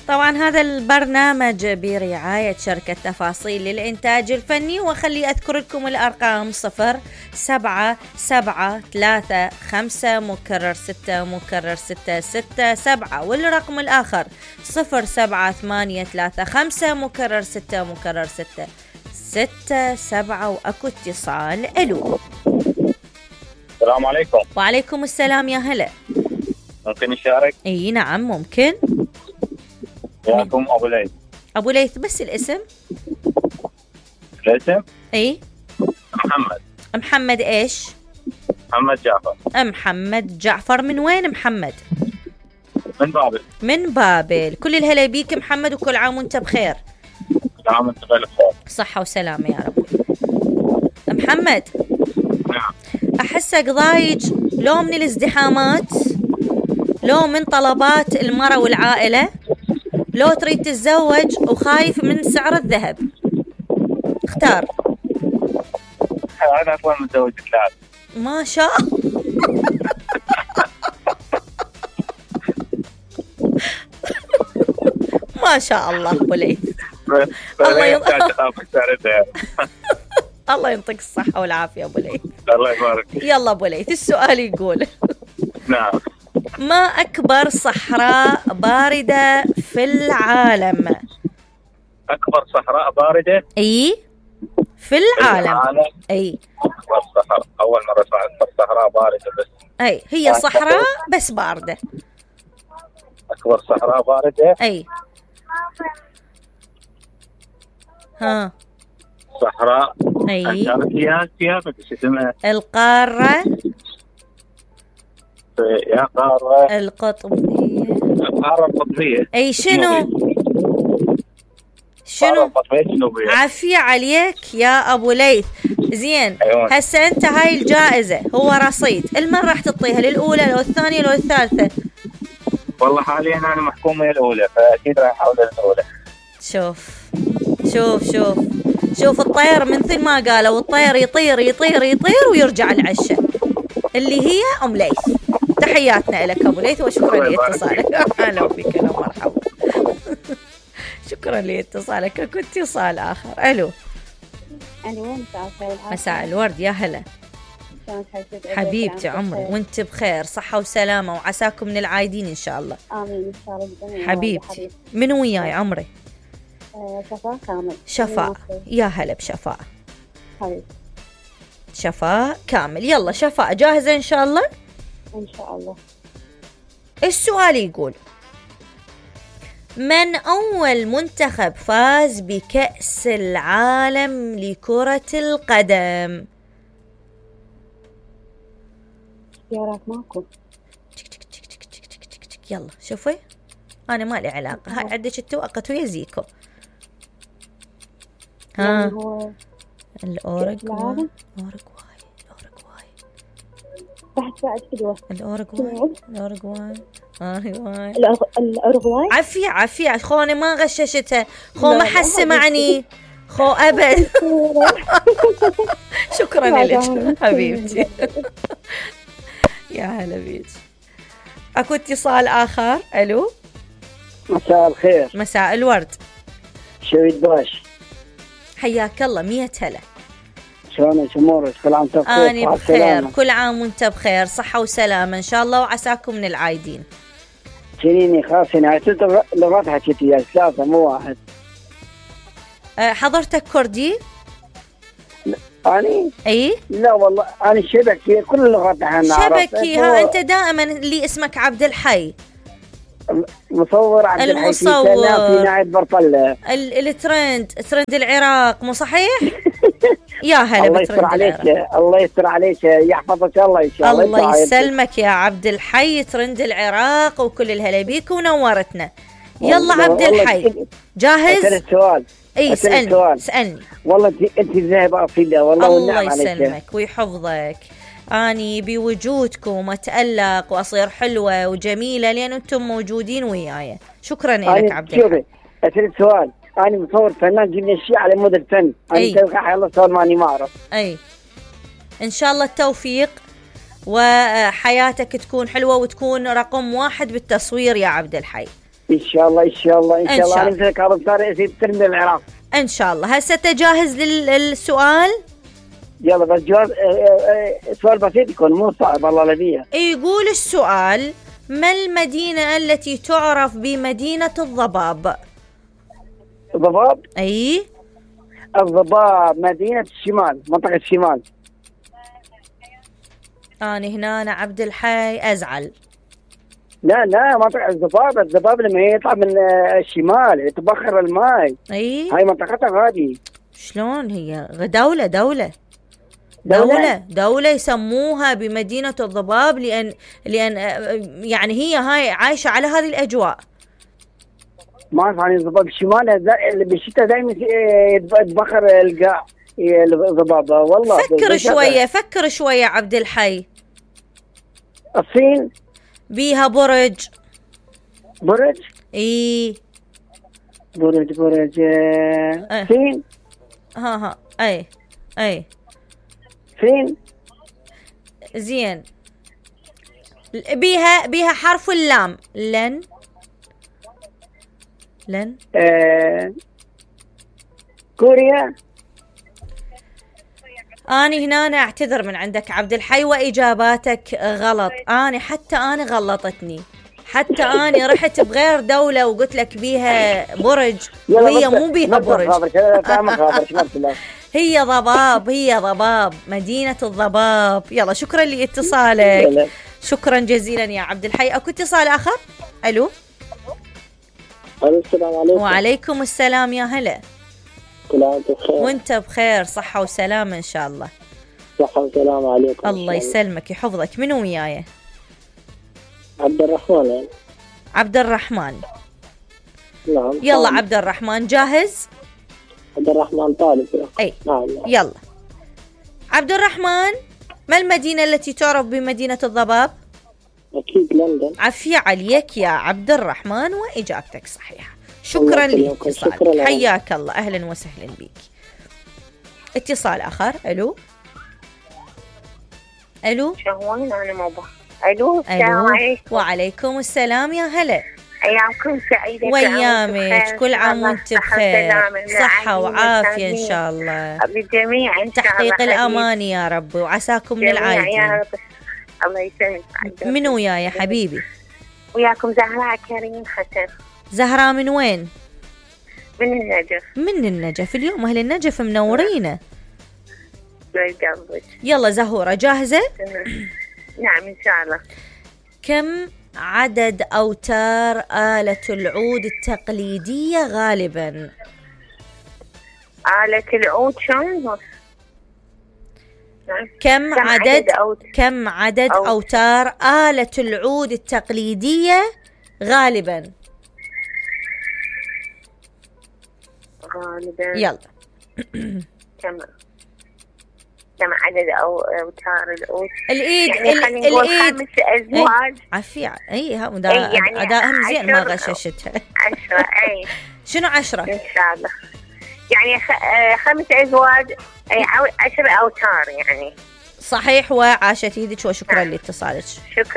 طبعا هذا البرنامج برعاية شركة تفاصيل للإنتاج الفني، وخلي أذكر لكم الأرقام 077356 والرقم الآخر 0783556 وأكو اتصال. ألو السلام عليكم. وعليكم السلام، يا هلا. ممكن نشارك؟ اي نعم ممكن. وياكم ابو ليث. ابو ليث بس الاسم. الاسم اي محمد. محمد ايش؟ محمد جعفر. محمد جعفر، من وين محمد؟ من بابل. من بابل. كل الهلا بيك محمد، وكل عام وانت بخير. كل عام وانت بخير. صحة وسلامة يا رب. محمد. نعم. احسك ضايج، لو من الازدحامات، لو من طلبات المرأة والعائلة، لو تريد تتزوج وخايف من سعر الذهب. اختار. أنا أكون متزوج ثلاث. ما شاء ما شاء الله أبو ليث. الله ينطيك الصحة والعافية أبو ليث. الله يبارك. يلا أبو ليث، السؤال يقول نعم. ما أكبر صحراء باردة في العالم؟ أكبر صحراء باردة؟ أي في العالم. أي أكبر صحراء، أول مرة أسمع أكبر صحراء باردة. بس أي هي صحراء بس باردة. أكبر صحراء باردة. أي ها صحراء. أي القارة. يا قارة القطبية. القارة القطبية. أي شنو عافية عليك يا أبو ليث. زين هسه أنت هاي الجائزة هو رصيد، المن راح تعطيها؟ للأولى لو الثانية لو الثالثة؟ والله حاليا أنا محكومة الأولى، فأكيد راح أحول الأولى. شوف شوف شوف شوف الطير من ثم ما قالوا الطير يطير يطير يطير ويرجع العشة، اللي هي أم ليث. تحياتنا لك أبو ليث، وشكرا لاتصالك. أهلا بك، أهلا مرحبا. شكرا لاتصالك. اكو اتصال آخر. ألو. ألو مساء الورد، يا هلا. حبيبتي عمري وانت بخير، صحة وسلامة، وعساكم من العايدين إن شاء الله. آمين إن شاء الله. حبيبتي من وياي عمري؟ شفاء كامل. شفاء، يا هلا بشفاء. حبيبتي شفاء كامل. يلا شفاء جاهزة إن شاء الله؟ إن شاء الله. السؤال يقول: من أول منتخب فاز بكأس العالم لكرة القدم؟ اختيارات ماكو. يلا شوفي، أنا ما لي علاقة، هاي عندك التوقت ويا زيكو. ها الأوروغواي. الأوروغواي عافية خوني ما غششتها، خو ما حس معني، خو أبد. شكرا لك حبيبتي. يا هلا بيك. أكو اتصال آخر. ألو. مساء الخير. مساء الورد. شويد باش. حياك الله، 100 هلا. شلونك امورك؟ كل عام وانت بخير. أنا بخير، كل عام وانت بخير، صحة وسلامة إن شاء الله، وعساكم من العايدين. جنيني خاصة عشت لغات حكيت وياك، 3 مو 1. حضرتك كردي؟ أني؟ أي؟ لا والله أنا شبكي، كل اللغات نحن نعرف. شبكي. ها أنت دائما اللي اسمك عبد الحي. مصور عبد الحي في ناحية برطلة. ترند العراق، مو صحيح؟ يا هلا بترند العراق. الله يستر عليك، يحفظك الله إن شاء الله. الله يسلمك يا عبد الحي، ترند العراق، وكل الهلا بيك ونورتنا. يلا عبد الحي جاهز؟ السؤال. اي اسألني. والله انت ذاهبة أصيلة والله، الله يسلمك ويحفظك. أني بوجودكم أتألق وأصير حلوة وجميلة لأن أنتم موجودين وياي. شكرا لك عبد الحي. أسأل سؤال. أنا مصور فنان جبنا الشيء على مود الفن. أنا تلقى الله صار ماني ما أعرف. أي إن شاء الله التوفيق، وحياتك تكون حلوة وتكون رقم 1 بالتصوير يا عبد الحي. ان شاء الله ان شاء الله ان إن شاء الله. شاء انا مثل كاظم صار يصير ترمي العراق. ان شاء الله. هسه تجاهز للسؤال؟ يلا بس جواب سؤال بسيط يكون مو صعب الله لذيه. يقول السؤال: ما المدينة التي تعرف بمدينة الضباب؟ الضباب. اي الضباب مدينة الشمال، منطقة الشمال. أنا عبد الحي أزعل. لا منطقة الضباب لما يطلع من الشمال يتبخر الماء. اي هاي منطقتها هذه. شلون هي؟ دولة يسموها بمدينة الضباب لأن يعني هي هاي عايشة على هذه الأجواء. ما أعرف عن الضباب الشمال بالشتاء دائما يتبخر القاع الضباب والله. فكر شوية عبد الحي. الصين بيها برج. اي برج صين. اي صين. زين. بيها حرف اللام. لن كوريا. أنا أعتذر من عندك عبد الحي، وإجاباتك غلط. حتى أنا غلطتني، حتى أنا رحت بغير دولة وقلت لك بيها برج وهي مو بيها برج. هي ضباب، مدينة الضباب. يلا شكرا لاتصالك. شكرا جزيلا يا عبد الحي. أكو اتصال آخر. ألو. السلام عليكم. وعليكم السلام يا هلا. كل عام بخير. وانت بخير، صحة وسلامة إن شاء الله. صحة وسلامة عليكم. الله يسلمك يحفظك. منو وياي؟ عبد الرحمن. عبد الرحمن. نعم. يلا عبد الرحمن جاهز؟ عبد الرحمن طالب. اي يلا عبد الرحمن، ما المدينة التي تعرف بمدينة الضباب؟ أكيد لندن. عافية عليك يا عبد الرحمن، وإجابتك صحيحة. شكرا لاتصالك. حياك الله، أهلا وسهلا بك. اتصال آخر. ألو. شهوين أنا موضوع. ألو. السلام عليكم. وعليكم السلام يا هلا. أيامكم سعيدة. ويامك، كل عام وانت بخير، صحة وعافية إن شاء الله بالجميع إن شاء الله. تحقيق الأمان يا رب، وعساكم من العائلين. الله يسلمك. من وياي يا حبيبي؟ وياكم زهراء كريم حسن. زهراء من وين؟ من النجف. اليوم أهل النجف منورينا. بالقلب. يلا زهورة جاهزة؟ نعم إن شاء الله. كم عدد أوتار آلة العود التقليدية غالبا؟ آلة العود شلون؟ كم عدد أوتار آلة العود التقليدية غالبا؟ يلا. كم عدد أوتار العود؟ الإيد. يعني خلينا نقول 5 أزواج. عافية. أدائهم زين ما غششتها. 10. شنو 10؟ إن شاء الله. يعني 5 أزواج، 10 أوتار يعني. صحيح، وعاشت يدك، وشكرا لاتصالك.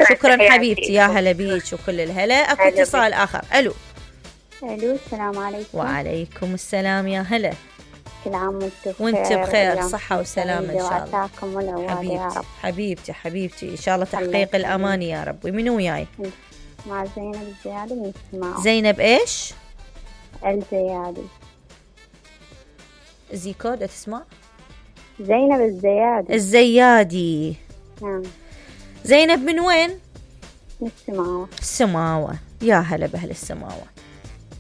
شكرا حبيبتي، يا هلا بيك وكل الهلا. اكو اتصال آخر. ألو. السلام عليكم. وعليكم السلام يا هلا. كل عام وانت بخير، صحة وسلامة إن شاء الله. حبيبتي إن شاء الله تحقيق الأمان يا رب. ومن وياي؟ مع زينب الزيادي من السماوة. زينب إيش؟ زيكود تسمع؟ زينب الزيادي. نعم. زينب من وين؟ من السماوة. يا هلا بأهل السماوة.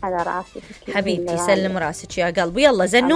على راسك حبيبتي، سلم راسك يا قلبي. يلا زنوب.